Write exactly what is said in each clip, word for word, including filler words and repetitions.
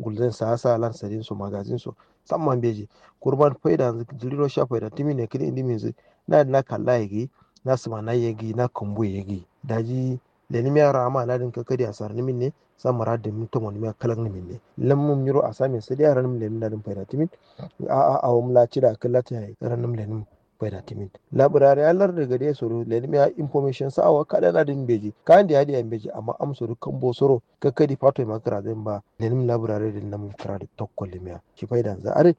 gulzain sa'asa lan sadin so magazin so. Samma mbeji. Kurman faidanzǝ jiri ro sha faida tǝmin ye kǝli indi minzǝ. Na dǝ na kalla ye gǝyi, na sǝmana ye gǝyi, na kǝmbu ye gǝyi. Daji lenǝmiya ra'ama nadǝn kakkadi asarnǝmin ne. Sa mǝradǝmin tomonǝmiya kalaknǝmin ne. Lannǝm nyiro asamin sadiya ranǝm lenǝm nadǝn faida tǝmin. A'a awom la cida kǝllata yayi ranǝm lenǝm faida tǝmin. Labrari a lardǝ gade soro lenǝmiya information sa awo kada nadǝn mbeji kandi adiya mbeji amma am soro kambo soro. Kakkadi fato ye ma kǝrazain ba lenǝm labrari dǝn namum kǝradǝ tokko limiya shi faidanzǝ adǝ.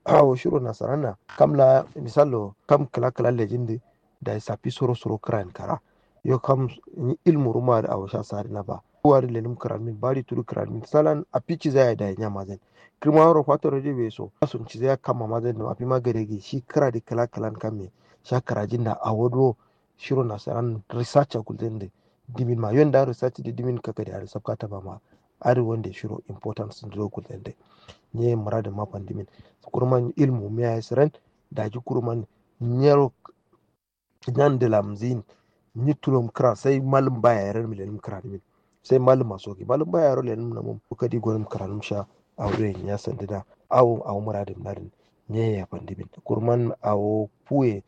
Awo shiro nasaranna kam la misallo kam kǝla kǝla lejin dǝ. Dayi safi soro soro kǝrayin kara. Yo kam nyi ilmu ruma dǝ awo sha sadǝna ba. Uwa dǝ lenǝm kǝranmin bari tudu kǝranmin salan afi ciza yayi dayi nyamazain. Kǝrma wuro fato radio be so asun ciza ya kamma mazain dǝ afi ma gade gǝyi shi kǝra dǝ kǝla kǝlan kamme. Sha kǝrajin da awo duro shiro nasaran research a gulzain dǝ. Dimin ma yon da research dǝ dimin kakkadi adǝ sabkata ba ma. Adǝ wande shiro importance duro gulzain dǝ. Nye muradu ma fandimin. Kurman ilmu miya ye siran. Daji kurman nyero nyan dǝ lamzin. Nyi tulom kǝra sai malum baya yero lenum kǝra dimin. Sai malum maso gi malum baya yero lenum namum kadi gonum kǝra num sha. Awo doye nya sandida awo awo muradum nadin. Nye ya fandimin kurman awo fuye.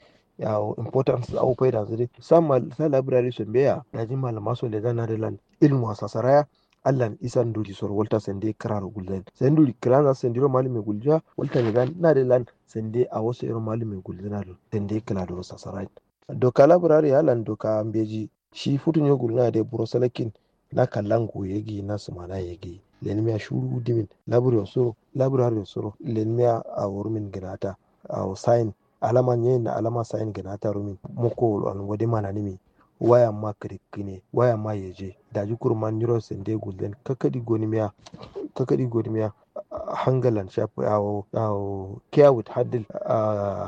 Awo importance awo faida zuri sa mal sa library so mbeya daji malum maso leza nadilan. Ilmu asasaraya. Allan isan nduri soro walta sande kǝraro gulzain sai nduri kǝlanza sandiro malume guljiya walta ne dan nade lan sande awo sayiro malume gulzina do sande kǝla doro sasarai. Doka labrari allan doka mbeji shi futu nyo gulzina de buro salakin. Na kallan goye gi na sumana ye gi lenmiya shuru dimin labrio soro labrio soro lenmiya awo rumin gǝnata. Awo sayin alama nyeyin na alama sayin gǝnata rumin. Mokko wulwan wade mananǝmi. Waya ma kǝrikkǝne waya ma yeje daji kuruman nyiro sande gulden kakadi gonimiya. Kakadi gonimiya. Hangalan shafi awo awo kiya wit handle.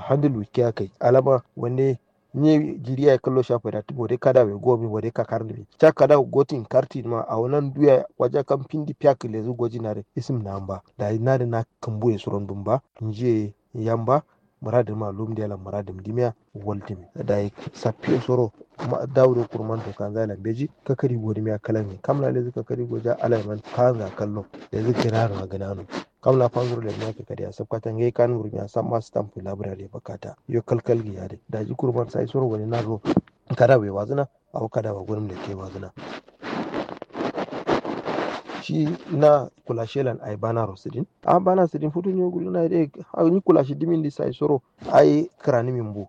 Handle wit kiya kai alama wande. Nye jiri yayi kallo shafi da wade kada we gomi wade kakar nimi sha kada gotin kartin ma awo nan duya waja kam findi fiya kǝlezu goji nare. Isim na amba daji nare na kǝmbu ye suron bumba njiye yamba. Muradǝ ma lum diya lan muradǝ dimiya. Waltǝmi dayi sappiyo soro. Dawu do kurman to kanza lan beji kakadi godimiya kalami kam la lezǝ kakadi goja alai man kanza kallo. Lezǝ gǝnano a gǝnano. Kam la fanzuro lezǝ miya kakadi a sapkata ngai kan gurmiya samma stamp labra de bakata yo kalkal gǝya de daji kurman sai soro wani naro. Kada we wazǝna. Awo kada wa gonum leke wazǝna. Shi na kulashe lan ai bana ro sǝdin a bana sǝdin futu nyo guluna de. Ni kulashi dimin di sai soro ai kǝranimin bu.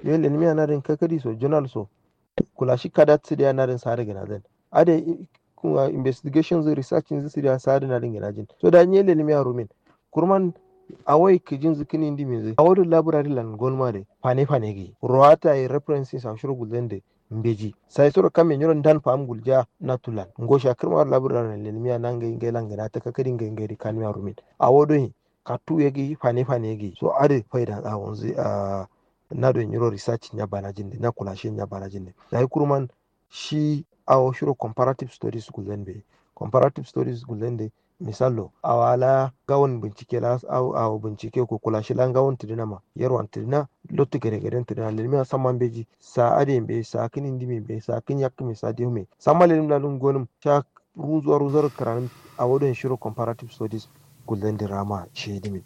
Yo lenimiya nadin kakadi so jonal so. Kulashi kadat sǝdiya nadin sari gǝnazan. Ade investigation zǝ research zǝ sǝdiya sari nadin gǝnajin so da nye lenimiya rumin. Kurman awoi kǝjin zǝ kǝnin dimin zǝ awo dǝ labrari lan gonuma de fane fane gǝyi ruwata ye references a shiro gulzan de. Mbeji sai soro kamme nyiro ndan fa'am gulja. Natulan ngo sha kǝrma waro labǝra lan lenimiya na ngai ngai lan gǝna ta kakadi ngai ngai dǝ kanuya rumin. Awo doi kattu ye gǝyi fane fane ye gǝyi so adǝ faidan awonzǝ. Na doi nyiro research nya banajin dǝ nya kulashe nya banajin dǝ. Dayi kuruman shi awo shiro comparative studies gulzan be. Comparative studies gulzan dǝ. Misallo awo ala ngawon bincike la awo bincike ko kulashi la ngawon tǝdǝna ma yerwan tǝdǝna. Lottu gade gaden tǝdǝna lenimiya samma mbeji. Sa adǝ ye mbeji sa kǝnin dimi mbeji sa kǝn yakkǝ me sa diyo me samma lenim la lum gonum sha. Ruzuwa ruzuwa ro kǝranǝm. Awo don shiro comparative studies gulzan dǝ rama shi dimin.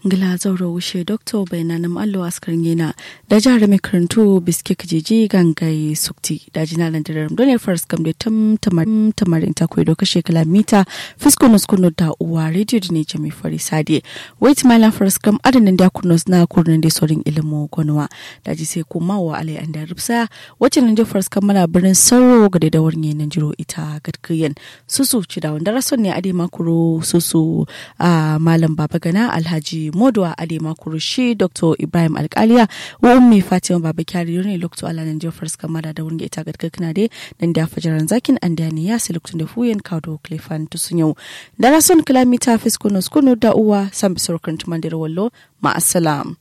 Ngla zauro wushe dokto bainanǝm allo askar ngena. Daji harami kǝrǝntu biske kǝjiji gangai sukti daji nalan dǝrarǝm done faraskam de tǝm tǝmarin takwai do kashe kǝla mita. Fiskunu skunu da uwa radio dǝne jami fari sadiye. Wai tǝmailan faraskam adǝ nandi a kurno sǝna kurno nandi sorin ilimu gonuwa. Daji sai kuma wa alai andi a rǝpsa. Wacce nandi faraskam mana birnin saro gade da warnge nanjiro ita gadkǝyen. Susu cidawo ndara son ne adai ma kuru susu. Malam baba gana alhaji moduwa adai ma kuru shi dokto ibrahim alkaliya. Wa ummi fatima baba kyari yurne lokto ala nandiya faraskam mada da wurge ita gadkǝkna dai. Nandiya fajaran zakin andiya ne ya sai lokto nda fuyen kawo do klefan tusunyau. Ndara son kǝla mita fiskunu skunu da uwa sambi sorokan tumandira wallo. Ma'asalam.